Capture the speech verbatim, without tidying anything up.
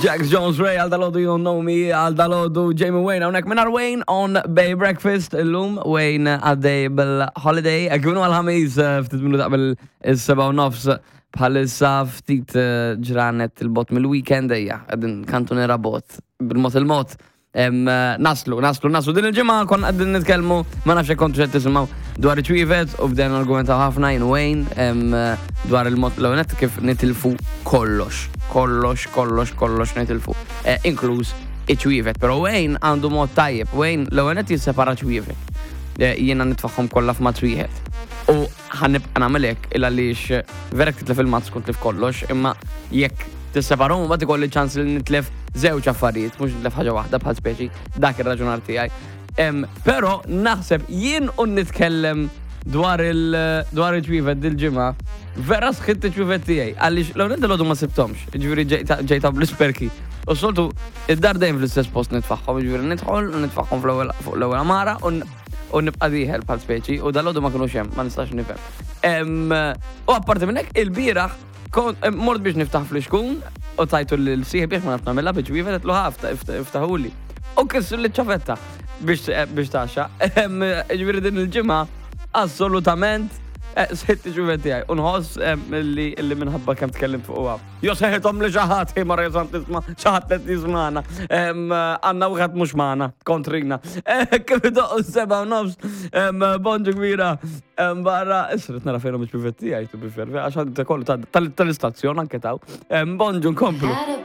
Jax Jones Ray għal dalgħodu You Don't Know Me, għal dalgħodu Jamie Wayne, hawnhekk minn Wayne on Bay Breakfast, illum Wayne għaddej bil-holiday, kif inhu għal-Ħamis eh, ftit minuti qabel is-seba' u nofs bħalissa ftit eh, ġranet 'il bogħod mill-weekend ejja, qegħdin kantuniera bogħod, bil-mod il-mod. Em, eh, Naslu, naslu, naslu. Din il-ġimgħa konna qegħdin nitkellmu, ma nafx jekk kontu qed tisimgħu dwar iċ-ċwievet u bdejna argumentaw ħafna jien Wayne em, eh, dwar il-mod l-għonet kif nitilfu kollox, kollox, kollox, kollox nitilfu, eh, inkluż iċ-ċwievet. Pero Wayne għandu mod tajjeb, Wayne l-għonet jissepara ċwievet. Eh, Jiena nitfagħhom kollha f'mazz wieħed. U ħa nibqa' nagħmel hekk illa għaliex vera titlef il-mazz kun tlif kollox, imma jekk tisseparahom mbagħad ikolli ċans li nitlef żewġ affarijiet, mhux nitlef ħaġa waħda bħal speċi dak ir-raġunar tiegħi. Em, Però naħseb jien u nitkellem dwar il dwar il-ċwievet dil-ġimgħa, vera sħitt iċ-ċwievet tiegħi għaliex l ewwel ma sibthomx, ġifieri ġejta bl-isperki. U soltu id-dar dejjem fl-istess post nitfagħhom, ġifieri nidħol u nitfagħhom fl-ewwel fuq l-ewwel għamara u n- u nibqa' dieħel bħal speċi u dalgħodu ma kinux hemm, ma nistax nifhem. Em, U apparti minn hekk il-bieraħ kon- em, mort biex niftaħ flixkun u tajtu l-sieħ biex ma naf nagħmilha biex wieħed qedlu ħafta iftaħuli. U kissu l-ċavetta biex eh, biex taxxa. Em, Ġifieri din il-ġimgħa assolutament eh, sħitt ċwievet tiegħi u nħoss em, li li minħabba kemm tkellimt fuqha. Jo seħithom li xi ħadd, mara jesam tisma' xi ħadd qed jismagħna. Em, Għandna wieħed mhux magħna, kontrina. Eh, Kif idoqqu seba' u nofs, em, bonġu kbira. Em, Barra, isret nara fejn mhux bifet tiegħi to be fair, għax għandi kollu tal-istazzjon anke taw. Em, Bonġu nkomplu. Had a